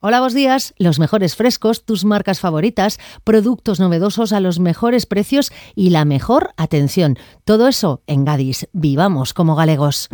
Hola, buenos días. Los mejores frescos, tus marcas favoritas, productos novedosos a los mejores precios y la mejor atención. Todo eso en Gadis. Vivamos como galegos.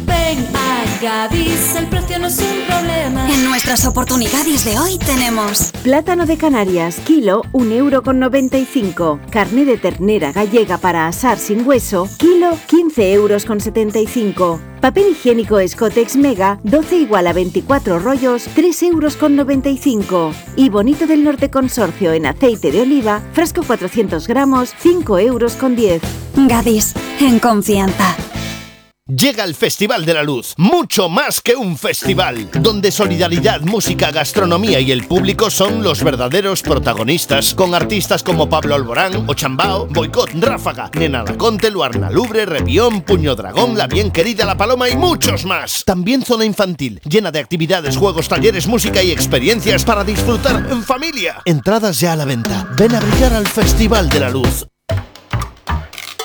Ven a Gadis, el precio no es un problema. En nuestras oportunidades de hoy tenemos plátano de Canarias, kilo 1,95 €. Carne de ternera gallega para asar sin hueso, kilo 15,75 €. Papel higiénico Escotex Mega, 12 igual a 24 rollos, 3,95 €. Y Bonito del Norte Consorcio en aceite de oliva, frasco 400 gramos, 5,10 €. Gadis, en confianza. Llega el Festival de la Luz, mucho más que un festival, donde solidaridad, música, gastronomía y el público son los verdaderos protagonistas, con artistas como Pablo Alborán, Ochambao, Boicot, Ráfaga, Nena Laconte, Luarna Lubre, Repión, Puño Dragón, La Bien Querida, La Paloma y muchos más. También zona infantil, llena de actividades, juegos, talleres, música y experiencias para disfrutar en familia. Entradas ya a la venta. Ven a brillar al Festival de la Luz.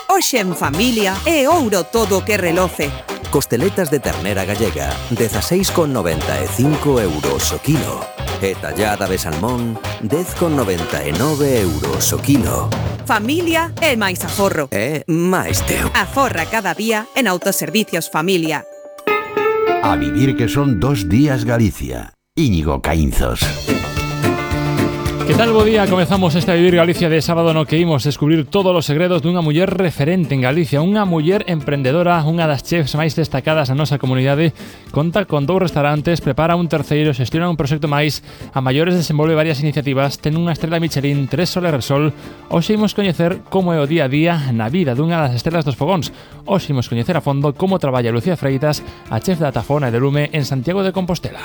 Hoxe en familia é ouro todo o que reloce. Costeletas de ternera gallega, 16,95 € o kilo. E tallada de salmón, 10,99 € o kilo. Familia é máis aforro. É máis teu. Aforra cada día en Autoservicios Familia. A vivir que son 2 días Galicia. Íñigo Caínzos. Que tal, bo día? Comezamos este A Vivir Galicia de sábado no que imos descubrir todos os segredos dunha muller referente en Galicia, unha muller emprendedora, unha das chefs máis destacadas na nosa comunidade, conta con 2 restaurantes, prepara un terceiro, xestiona un proxecto máis, a maiores desenvolve varias iniciativas, ten unha estrela Michelin, 3 Sol e Repsol. Hoxe imos coñecer como é o día a día na vida dunha das estrelas dos fogóns. Hoxe imos coñecer a fondo como traballa Lucía Freitas, a chef da Tafona e de Lume en Santiago de Compostela.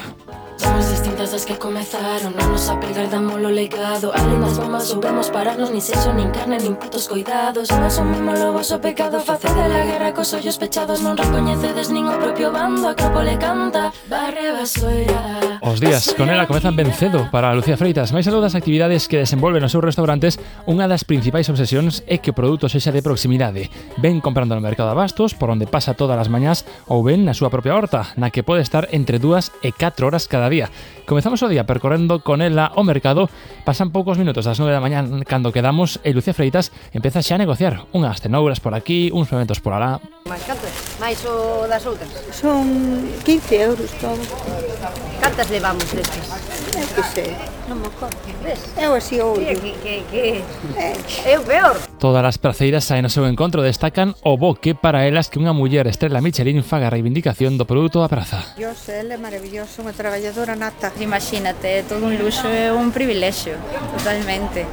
Somos distintas das que comezaron, non nos apegar, damos lo legado. Além das bombas soubemos pararnos, nin sexo, nin carne, nin putos coidados. Non asumimos o voso pecado, facede la guerra cos ollos pechados. Non recoñecedes nin o propio bando, a Acrópole canta, barre basoira. Os días con ela comezan ben cedo para Lucía Freitas. Mais algo das actividades que desenvolven nos seus restaurantes, unha das principais obsesións é que o produto sexa de proximidade. Ven comprando no mercado de abastos, por onde pasa todas as mañás, ou ven na súa propia horta, na que pode estar entre 2 e 4 horas cada día. Comezamos o día percorrendo con ela o mercado. Pasan poucos minutos das 9 da mañá cando quedamos e Lucía Freitas empeza xa a negociar unhas cenouras por aquí, uns fermentos por alá. Mais cantas? Mais o das outras? Son 15 € todo. Cantas levamos destes? É que sei, non me acordo. Eu así o ollo. Que é o peor. Todas as praceiras saen ao seu encontro, destacan o bo que para elas que unha muller estrela Michelin faga a reivindicación do produto da praza. Ele é maravilloso, unha traballadora nata. Imagínate, é todo un luxo e un privilexio, totalmente.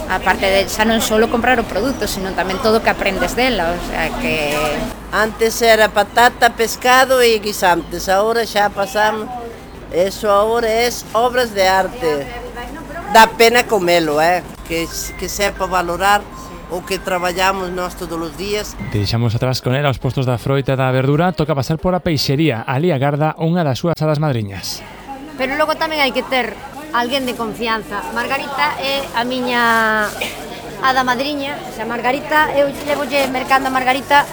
Aparte de xa non só comprar o produto, sino tamén todo o que aprendes dela, o sea que... Antes era patata, pescado e guisantes, agora xa pasamos, eso agora é obras de arte. Dá pena comelo, que sepa valorar o que traballamos nós todos os días. Deixamos atrás con ela os postos da froita e da verdura, toca pasar por a peixería, ali agarda unha das súas hadas madriñas. Pero logo tamén hai que ter alguén de confianza. Margarita é a miña hada madriña, o sea, Margarita, eu levolle mercando a Margarita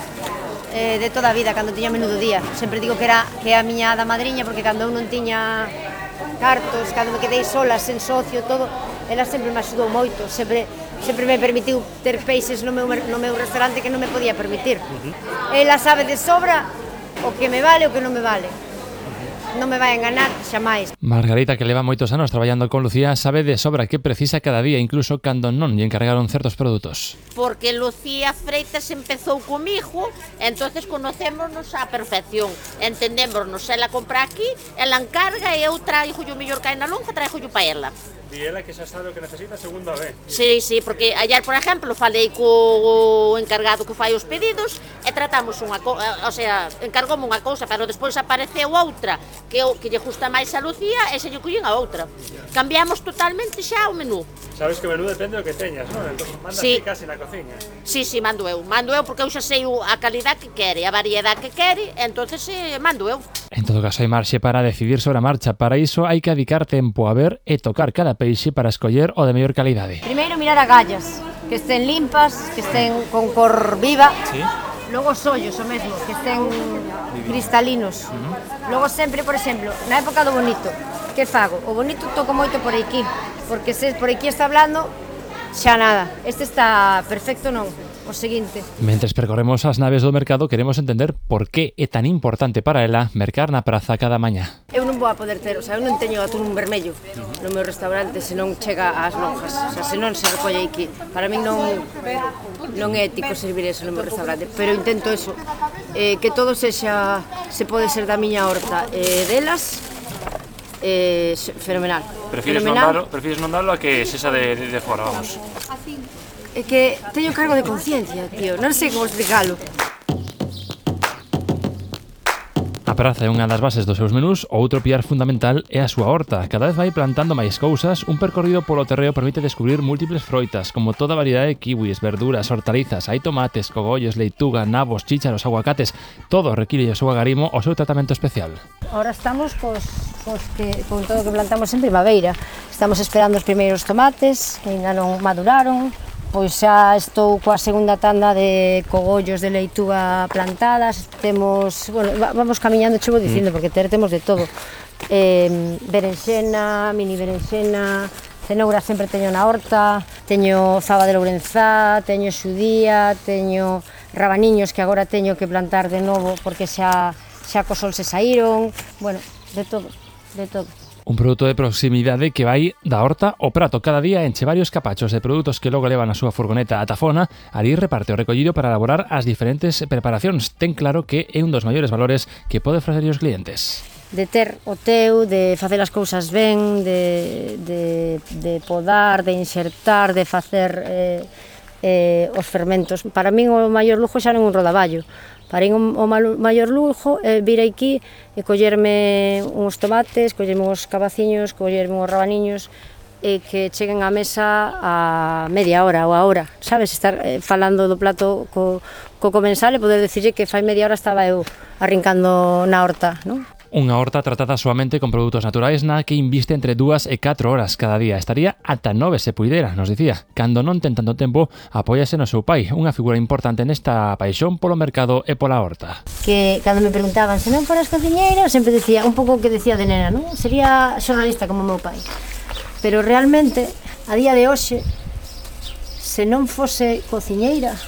de toda a vida, cando tiña menudo día. Sempre digo que é a miña hada madriña, porque cando eu non tiña cartos, cando me quedei sola, sen socio, todo, ela sempre me axudou moito, sempre me permitiu ter peixes no meu restaurante que non me podía permitir. Ela sabe de sobra o que me vale e o que non me vale. Non me vai enganar xamais. Margarita, que leva moitos anos traballando con Lucía, sabe de sobra que precisa cada día, incluso cando non lle encargaron certos produtos. Porque Lucía Freitas empezou comigo, entonces conocémonos á perfección, entendémonos, ela compra aquí, ela encarga e eu traigo o mellor que hai na lonja, traigo pa ela. E ela que xa sabe o que necesita segunda vez. Sí, porque ayer, por exemplo, falei co encargado que fai os pedidos e tratamos unha cousa, o sea, encargoume unha cousa, pero despois apareceu outra que lle gusta máis a Lucía e se lle collín a outra. Cambiamos totalmente xa o menú. Sabes que o menú depende do que teñas, non? Entón, mandas ti casi na cociña. Sí, mando eu porque eu xa sei a calidad que quere, a variedade que quere, entonces mando eu. En todo caso, hai marxe para decidir sobre a marcha. Para iso hai que dedicar tempo a ver e tocar cada peixe para escoller o de mellor calidade. Primeiro mirar a gallas, que estén limpas, que estén con cor viva. Sí. Logo os ollos, o mesmo, que estén cristalinos. Logo sempre, por exemplo, na época do bonito, que que fago? O bonito toco moito por aquí, porque se por aquí está hablando, xa nada. Este está perfecto, non? O seguinte. Mentres percorremos as naves do mercado, queremos entender por que é tan importante para ela mercar na praza cada mañá. Eu non vou a poder ter, o sea, eu non teño atún vermello no meu restaurante se non chega ás lonjas, o sea, se non se recolle aquí. Para min non é ético servir eso no meu restaurante, pero intento eso, que todo sexa, se pode ser da miña horta, delas, fenomenal. Prefires non darlo a que sexa de fora, vamos. É que teño cargo de conciencia, tío, non sei como explicalo. A praza é unha das bases dos seus menús, outro piar fundamental é a súa horta. Cada vez vai plantando máis cousas, un percorrido polo terreo permite descubrir múltiples froitas, como toda variedade de kiwis, verduras, hortalizas, hai tomates, cogollos, leituga, nabos, chícharos, aguacates, todo require o seu agarimo o seu tratamento especial. Ahora estamos con todo o que plantamos en primavera. Estamos esperando os primeiros tomates, que ainda non maduraron. Pois xa estou coa segunda tanda de cogollos de leituga plantadas. Temos, bueno, vamos camiñando, che vou dicindo, porque temos de todo. Berenxena, mini berenxena, cenoura sempre teño na horta, teño fava de Lourenzá, teño xudía, teño rabaniños que agora teño que plantar de novo porque xa co sol se saíron, bueno, de todo, de todo. Un produto de proximidade que vai da horta ao prato. Cada día enche varios capachos de produtos que logo levan a súa furgoneta a Tafona. Ali reparte o recollido para elaborar as diferentes preparacións. Ten claro que é un dos maiores valores que pode ofrecer aos clientes. De ter o teu, de facer as cousas ben, de podar, de insertar, de facer os fermentos. Para min o maior lujo xa non un rodaballo. Para min o maior lujo é vir aquí e collerme uns tomates, collerme uns cabaciños, collerme uns rabaniños e que cheguen á mesa a media hora ou a hora, sabes? Estar falando do plato co comensal e poder dicirlle que fai media hora estaba eu arrincando na horta, non? Unha horta tratada soamente con produtos naturais na que inviste entre 2 e 4 horas cada día. Estaría ata 9 se puidera, nos dicía. Cando non ten tanto tempo, apóiase no seu pai, unha figura importante nesta paixón polo mercado e pola horta. Que cando me preguntaban se non foras cociñeira, eu sempre decía, un pouco que decía de nena, non? Sería xornalista como meu pai. Pero realmente, a día de hoxe, se non fose cociñeira,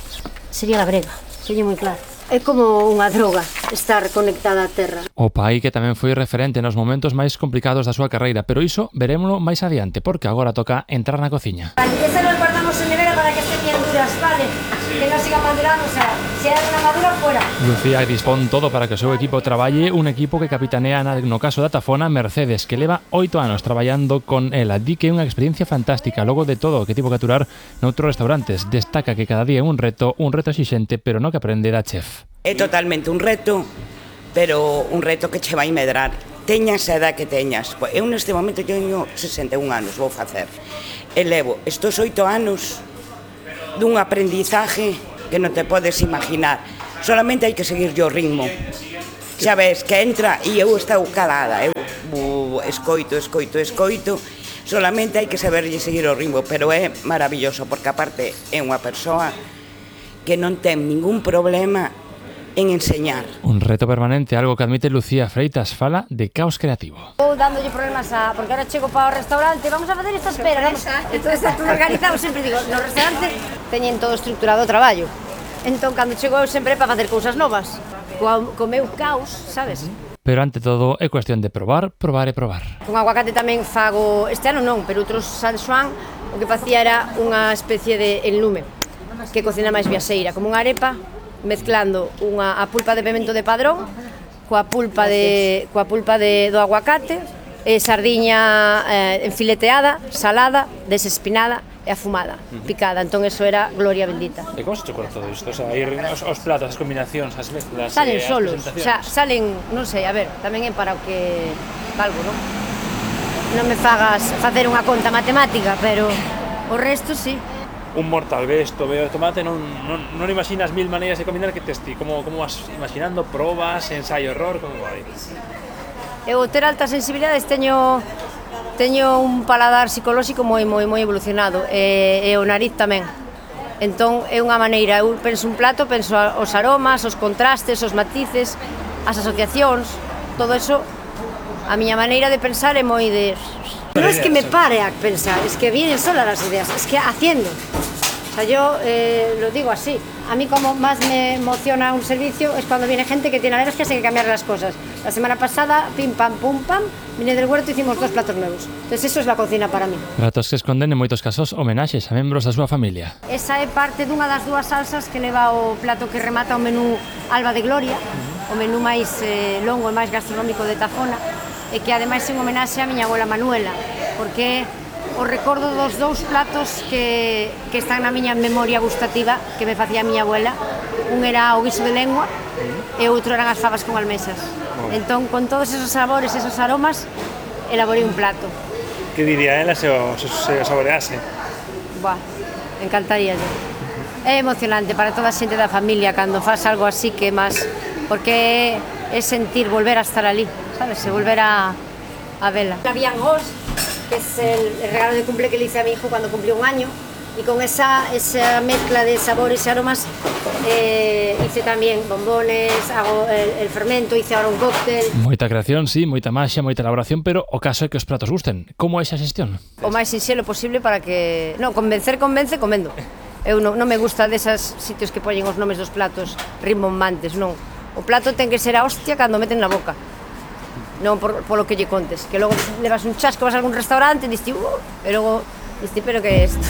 sería labrega, teño moi claro. É como unha droga estar conectada á terra. O pai que tamén foi referente nos momentos máis complicados da súa carreira, pero iso verémolo máis adiante, porque agora toca entrar na cociña. Esa nos guardamos en nevera para que estén duras, vale? Que non siga madurando, o sea, se hai unha madura, fuera. Lucía dispón todo para que o seu equipo traballe, un equipo que capitanea no caso da Tafona Mercedes, que leva 8 anos traballando con ela. Di que é unha experiencia fantástica, logo de todo o que tivo que aturar noutros restaurantes. Destaca que cada día é un reto exixente, pero no que aprende da chef. É totalmente un reto, pero un reto que che vai medrar. Teñas a edad que teñas. Eu neste momento teño 61 anos, vou facer. E levo estos 8 anos dun aprendizaje que non te podes imaginar. Solamente hai que seguir o ritmo. Xa ves que entra e eu estou calada. Eu escoito. Solamente hai que saberlle seguir o ritmo, pero é maravilloso porque aparte é unha persoa que non ten ningún problema en enseñar. Un reto permanente, algo que admite Lucía Freitas, fala de caos creativo. Vou dándolle problemas porque ahora chego para o restaurante, vamos a facer esta espera, non? Entón está todo organizado, sempre digo, no restaurante teñen todo estruturado o traballo. Entón, cando chego eu sempre para facer cousas novas, co meu caos, sabes? Pero ante todo é cuestión de probar e probar. Con aguacate tamén fago, este ano non, pero outros San Xoán, o que facía era unha especie de enlume, que cocina máis viaxeira, como unha arepa, mezclando a pulpa de pemento de Padrón coa pulpa do aguacate e sardiña enfileteada, salada, desespinada e afumada, picada. Entón eso era gloria bendita. E como se te ocurre todo isto? O sea, os platos, as combinacións, as mezclas, salen solos, o sea, salen, non sei, a ver, tamén é para o que valgo, non? Non me fagas facer unha conta matemática, pero o resto sí. Un mortal, ves, veo tomate, non imaginas mil maneiras de combinar que testi, como vas imaginando, probas, ensayo, error, como vai? Eu ter altas sensibilidades teño un paladar psicolóxico moi evolucionado e o nariz tamén. Entón é unha maneira, eu penso un plato, penso os aromas, os contrastes, os matices, as asociacións, todo eso A miña maneira de pensar é moi de... Non es que me pare a pensar, es que vienen solas las ideas, es que haciendo. O sea, yo lo digo así. A mí como más me emociona un servicio es cuando viene gente que tiene alergias y hay que cambiar las cosas. La semana pasada, pim pam pum pam, vine del huerto e hicimos 2 platos nuevos. Entonces eso es la cocina para mí. Pratos que esconden en moitos casos homenaxes a membros da súa familia. Esa é parte dunha das 2 salsas que leva o plato que remata o menú Alba de Gloria, o menú máis longo e máis gastronómico de Tafona, e que ademais é un homenaxe a miña abuela Manuela, porque o recordo dos 2 platos que están na miña memoria gustativa que me facía a miña abuela. Un era o guiso de lengua e outro eran as fabas con almesas. Entón, con todos esos sabores, esos aromas, elaborei un plato. Que diría ela se o saborease? Buah, encantaría yo. É emocionante para toda a xente da familia cando faz algo así que máis, porque é sentir volver a estar ali, sabes? E volver a vela. La Biangos, que es el regalo de cumple que le hice a mi hijo cuando cumplió 1 año, y con esa mezcla de sabores y aromas hice también bombones, hago el fermento, hice ahora un cóctel. Moita creación, sí, moita maxia, moita elaboración, pero o caso é que os pratos gusten. Como é esa xestión? O máis sinxelo posible para que... Non, convence, comendo. Eu non me gusta deses sitios que poñen os nomes dos platos rimbombantes, non. O plato ten que ser a hostia cando meten na boca. Non polo que lle contes, que logo levas un chasco, vas a algún restaurante e diste, e logo diste, pero que é isto?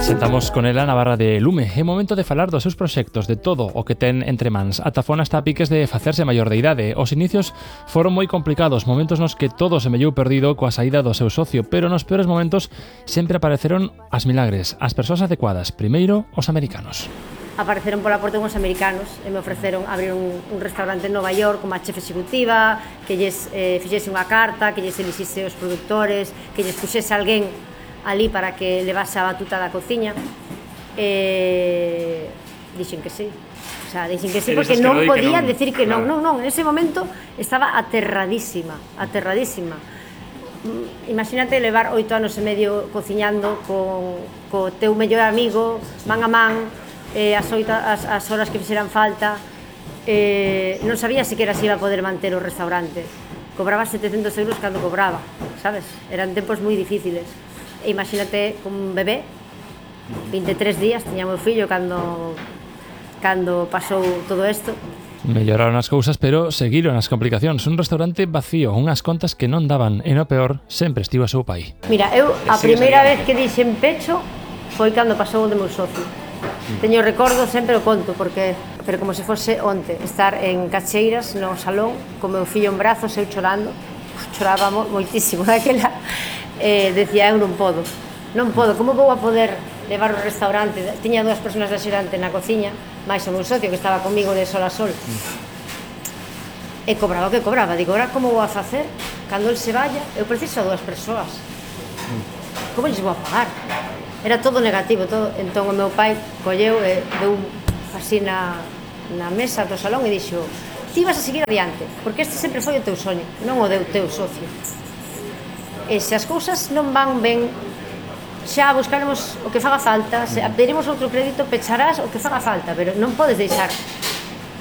Sentamos con ela na barra de Lume. É momento de falar dos seus proxectos, de todo o que ten entre mans. A Tafona está a piques de facerse maior de idade. Os inicios foron moi complicados, momentos nos que todo se mellou perdido coa saída do seu socio, pero nos peores momentos sempre apareceron as milagres, as persoas adecuadas, primeiro os americanos. Apareceron pola porta uns americanos e me ofreceron abrir un restaurante en Nova York como a chef executiva, que lles fixese unha carta, que lles elixise os produtores, que lles puxese alguén ali para que levase a batuta da cociña. Dixen que sí. O sea, dixen que sí porque non podían decir que non. Non, en ese momento estaba aterradísima. Imagínate levar 8 anos e medio cociñando co teu mellor amigo, man a man, as horas que fixeran falta, non sabía siquiera se iba a poder manter o restaurante. Cobraba 700 euros cando cobraba, sabes? Eran tempos moi difíciles. E imagínate un bebé, 23 días, tiña meu fillo cando pasou todo isto. Melloraron as cousas, pero seguiron as complicacións. Un restaurante vacío, unhas contas que non daban, e no peor, sempre estivo a seu pai. Mira, eu a primeira vez que dixen pecho foi cando pasou o de meu socio. Teño recordo, sempre o conto, pero como se fose onte, estar en Cacheiras, no salón, con meu fillo en brazos, eu chorando, chorábamos moitísimo daquela, decía, eu non podo, como vou a poder levar o restaurante? Tiña 2 persoas de axudante na cociña, máis o meu socio que estaba comigo de sol a sol, e cobraba o que cobraba, digo, ahora como vou a facer? Cando el se vaya, eu preciso a 2 persoas, como lles vou a pagar? Era todo negativo, todo. Entón o meu pai colleu e deu así na mesa do salón e dixo, ti vas a seguir adiante, porque este sempre foi o teu soño, non o deu teu socio. E se as cousas non van ben, xa buscaremos o que faga falta, se pediremos outro crédito, pecharás o que faga falta, pero non podes deixar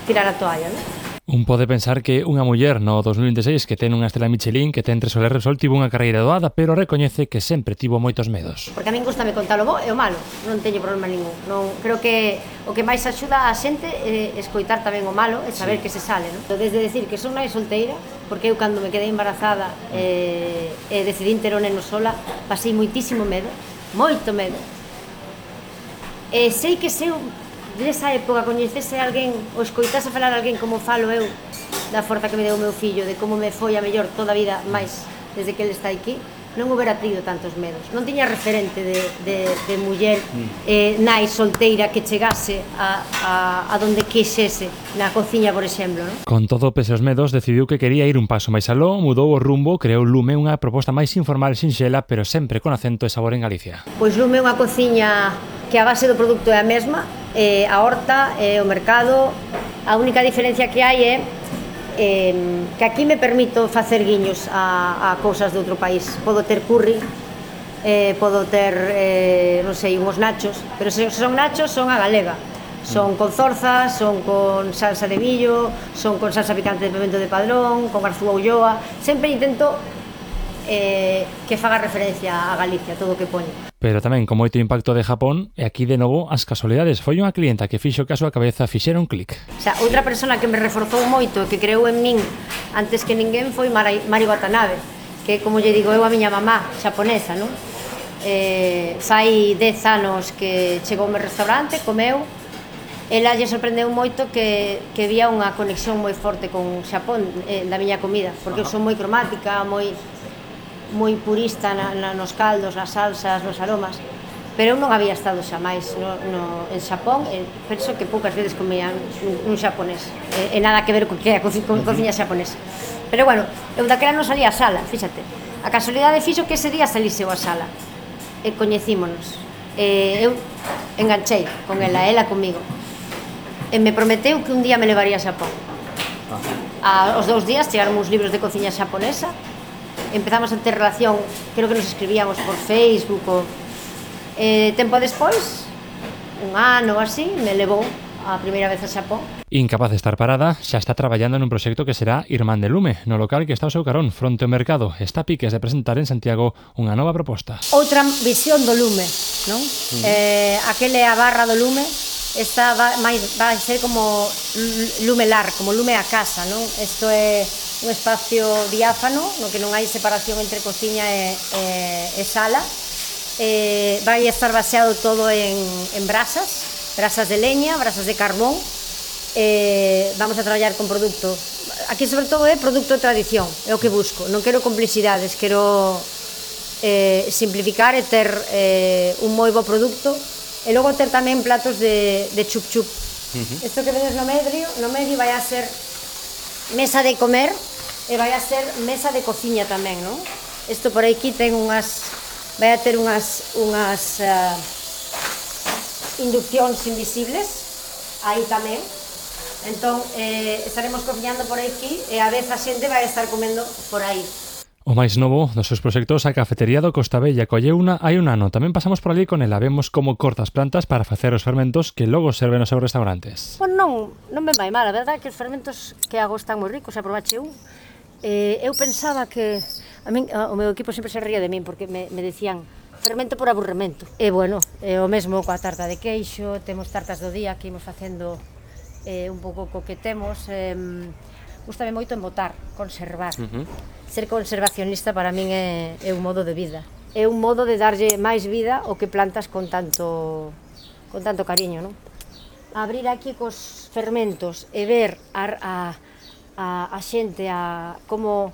tirar a toalla, non? Un pode pensar que unha muller no 2026 que ten unha estela Michelin, que ten 3 Soler Repsol, tivo unha carreira doada, pero recoñece que sempre tivo moitos medos. Porque a min gustame contar o bo e o malo, non teño problema ningún. Non, creo que o que máis axuda a xente é escoitar tamén o malo e saber que se sale, non? Desde decir que son nai solteira, porque eu cando me quedei embarazada e decidín ter o neno sola, pasei moitísimo medo, moito medo. E sei que se eu desa época coñecese alguén ou escoitase falar alguén como falo eu da forza que me deu o meu fillo, de como me foi a mellor toda a vida máis desde que ele está aquí, non houbera tido tantos medos. Non tiña referente de muller nai solteira que chegase a donde quixese na cociña, por exemplo, non? Con todo pese aos medos, decidiu que quería ir un paso máis aló, mudou o rumbo, creou Lume, unha proposta máis informal e sinxela, pero sempre con acento e sabor en Galicia. Pois Lume é unha cociña que a base do produto é a mesma, a horta, o mercado. A única diferencia que hai é que aquí me permito facer guiños a cousas de outro país. Podo ter curry, podo ter, non sei, unhos nachos, pero se son nachos son a galega. Son con zorza, son con salsa de millo, son con salsa picante de pimento de Padrón, con garzúa ulloa. Sempre intento que faga referencia a Galicia, todo o que poño. Pero tamén con moito impacto de Japón, e aquí de novo as casualidades. Foi unha clienta que fixo que a súa cabeza fixera un clic. O sea, outra persona que me reforzou moito e que creou en min antes que ninguén foi Mari Watanabe, que, como lle digo eu, a miña mamá xaponesa, non? Fai 10 anos que chegou ao meu restaurante, comeu. Ela lle sorprendeu moito que vía unha conexión moi forte con Xapón da miña comida, porque eu son moi cromática, moi purista nos caldos, nas salsas, nos aromas, pero eu non había estado xamais en Xapón, e penso que poucas veces comía un xaponés, e nada que ver co que é a cociña xaponesa. Pero bueno, eu daquela non salía a sala, fíxate, a casualidade fixo que ese día salise eu a sala, e coñecímonos, eu enganchei con ela comigo, e me prometeu que un día me levaría a Xapón. Aos 2 días chegaron uns libros de cociña xaponesa. Empezamos a ter relación, creo que nos escribíamos por Facebook tempo despois, un ano ou así, me levou a primeira vez a Xapón. Incapaz de estar parada, xa está traballando nun proxecto que será Irmán de Lume, no local que está ao seu carón, fronte ao mercado. Está a piques de presentar en Santiago unha nova proposta. Outra visión do lume, non? Aquele a barra do lume, esta vai ser como lumelar, como lume a casa, non? Isto é un espacio diáfano, no que non hai separación entre cociña e sala. Vai estar baseado todo en brasas de leña, brasas de carbón. Vamos a traballar con produto, aquí sobre todo é produto de tradición, é o que busco, non quero complicidades, quero simplificar e ter un moi bo produto, e logo ter tamén platos de chup-chup. Isto que vedes no medio vai a ser mesa de comer e vai a ser mesa de cociña tamén, non? Isto por aquí ten vai a ter unhas induccións invisibles aí tamén. Entón, estaremos cociñando por aquí e a vez a xente vai estar comendo por aí. O máis novo dos seus proxectos, a cafetería do Costa Bella, colleuna hai un ano. Tamén pasamos por ali con ela, vemos como corta as plantas para facer os fermentos que logo serven nos seus restaurantes. Bueno, non me vai mal, a verdade é que os fermentos que hago están moi ricos, aprobache un. Eu pensaba que o meu equipo sempre se ría de min porque me decían fermento por aburrimento. E bueno, o mesmo coa tarta de queixo, temos tartas do día que imos facendo un pouco co que temos. Gústame moito embotar, conservar. Ser conservacionista para min é un modo de vida. É un modo de darlle máis vida ao que plantas con tanto cariño, non? Abrir aquí cos fermentos e ver a xente como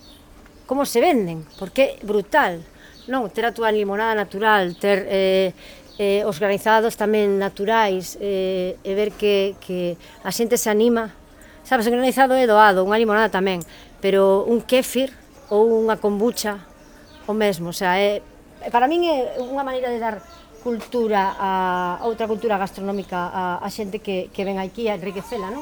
se venden, porque é brutal, non? Ter a túa limonada natural, ter os granizados tamén naturais, e ver que a xente se anima. Sabes, o granizado é doado, unha limonada tamén, pero un kéfir ou unha kombucha o mesmo, o sea, para min é unha maneira de dar cultura, outra cultura gastronómica a xente que ven aquí a enriquecela, non?